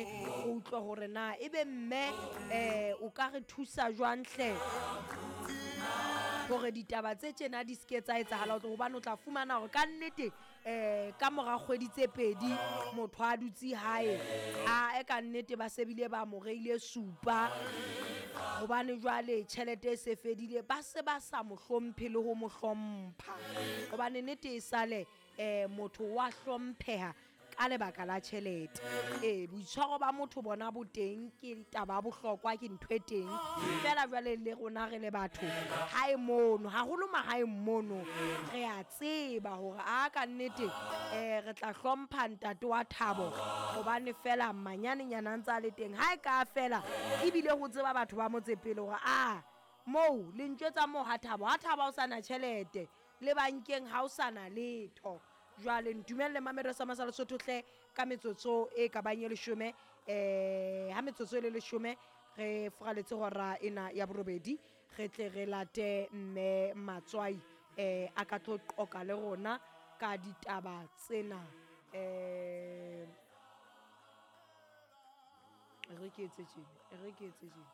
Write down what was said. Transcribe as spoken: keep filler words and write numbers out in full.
mane go utlwe gore na ebe mme um o ka re thusa jwang hle gore ditaba tse tjena di seke tsa etsahala gobane o tla fumana gore ka nnete um ka mora kgwedi tse pedi motho a dutse hae a e ka nnete ba sebile ba mo reile supa gobane jwale tšhelete e se fedile ba se ba sa mo hlomphe le go mo hlompha gobane nnete e sale um motho wa hlomphega ka lebaka la tšhelete. Ee, boitshwaro ba motho bona bo teng ke taba ya bohlokwa ke ntho e teng fela jwale le rona re le batho hae mono haholo mahaeng mono re a tseba hore a ka nnete um re tla hlompha ntate wa Thabo gobane fela manyanenyana a ntse a le teng ha e ka fela ebile go tseba batho ba motse pele hore a moo le ntjwetsa moo ha Thabo ha Thabo ha o sana tšhelete le bankeng ha o sana letho. Jwale ntumelle mamelo sa masa Lesotho hle ka metsotso e ka bang e leshome um ha metsotso e le leshome re furaletse hora ena ya borobedi re tle re late mme Matswai um a ka tlo qoka le rona ka ditaba tsena. Um re ke etse tjena, e re ke etse tjena.